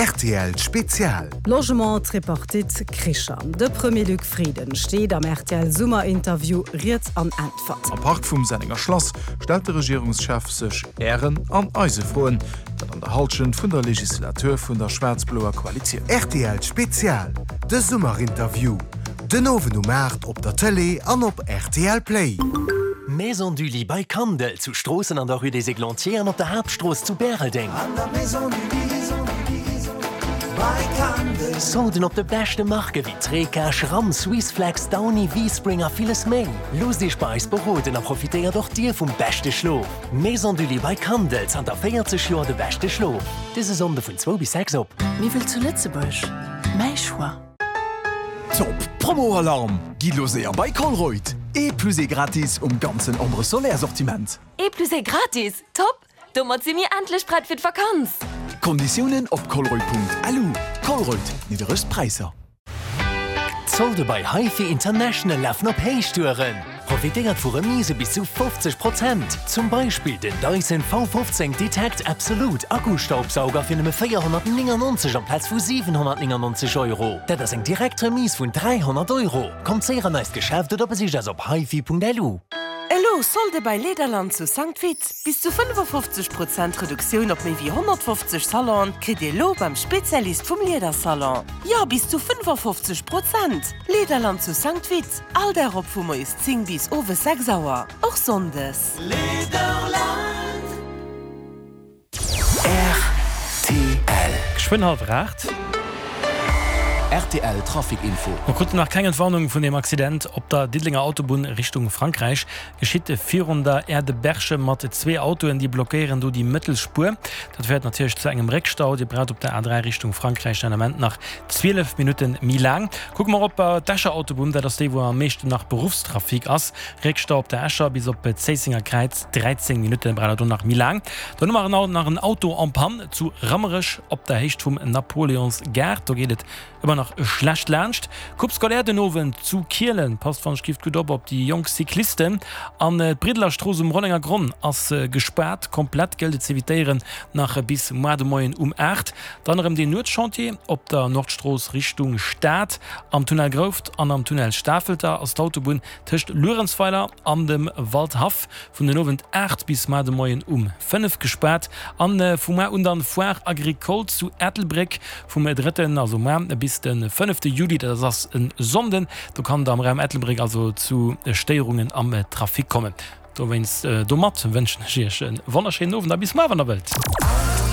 Rtl Spezial. Logement, Tripartite, Kricher, De Premier Luc Frieden steet am rtl Summerinterview Ried an Äntwert. Am Park vum Sennenger Schlass stellt de Regierungschef sech Ären an eise Froen, dat an der Hallschent vun der Legislatur vun der schwaarz-bloer Koalitioun. Rtl Spezial, De Summerinterview, den Owend um 8 op der Tëlee an op rtl Play. Maison du Lit bei Kandel, zu Stroossen an der Rue des Églantiers an op der Haaptstrooss zu Bäreldeng. Solden op de beschte Marke wéi Treca, Schramm, Swissflex, Downy, V-Spring a villes méi. Loosst Iech bei eis beroden a profitéiert och Dir vum beschte Schlof. Maison du Lit bei Kandel, zanter 40 Joer de beschte Schlof. Dëse Sonnde vun zwou bis 6 op. Miwwel zu Lëtzebuerg, mäi Choix. Top Promo Alarm! Gitt lo séier bei Colruyt! Ee plus ee gratis um ganzen Ombre Solaire Sortiment! Ee plus ee gratis? Top! Domat si mir endlech prett fir d'Vakanz! Konditiounen op colruyt.lu. Colruyt, nidderegst Präisser! D'Solde bei HiFi International lafen op Héichtouren! Profitéiert vu Remise bis zu 50 Prozent! Zum Beispill den Dyson V15 Detect Absolute Akkustaubsauger fir nëmme 499 amplaz vu 799 Euro. Dat ass eng direkt Remise vun 300 Euro! Kommt séier an eist Geschäft oder besicht eis op hifi.lu. Elo Solde bei Lederland zu Sankt Vith! Bis zu 55 Prozent Reduktioun op méi wéi 150 Salonen kritt Dir elo beim Spezialist vum Liedersalon. Jo, bis zu 55 Prozent! Lederland zu Sankt Vith, all Dag op vu moies 10 bis owes 6 Auer, och sonndes. Lederland. Rtl. Geschwënn hallwer 8. Rtl Trafic Info. Mer kruten nach keng Entwarnung vun dem Accident op der Diddelenger Autobunn Richtung Frankräich. Geschitt virun der Aire de Berchem mat zwee Autoen, déi blockéieren do déi mëttel Spuer. Dat féiert natierlech zu engem Réckstau. Dir braucht op der A3 Richtung Frankräich den Ament nach 12 Minutte méi laang. Kucke mer op d'Escher Autobunn, dat ass déi wou am meeschten nach Beruffstrafic ass. Réckstau op der Escher bis op d'Zéissenger Kräiz, 13 Minutte braucht der do nach méi laang. Dann hu mer nach en Auto en panne zu Rammerech op der Héicht vum Napoleonsgaart. Do geet et ëmmer nach schlecht laanscht. Coupe scolaire den Owend zu Kielen. Passt wann ech gift gutt op op déi jonk Cyclisten. An d'Briddeler Strooss um Rollenger Gronn ass gespaart. Komplett gëllt et z'evitéieren nach bis moar de Moien um 8. Dann erëm deen Nuetschantier op der Nordstrooss Richtung Stad. Am Tunnel Grouft an am Tunnel Stafelter ass d'Autobunn tëscht Luerenzweiler an dem Waldhaff vun den Owend 8 bis mar de Moien um 5 gespaart an vu mar un dann Foire Agricole zu Ettelbréck vum drëtten, also mar, bis de fënnefte Juli, dat ass en Sonnden. Do kann et am Raum Ettelbréck also zu Stéierungen am Trafic kommen. Dowéinst, domat wënschen ech iech e wonnerschéinen Owend a bis mar, wann der wëllt.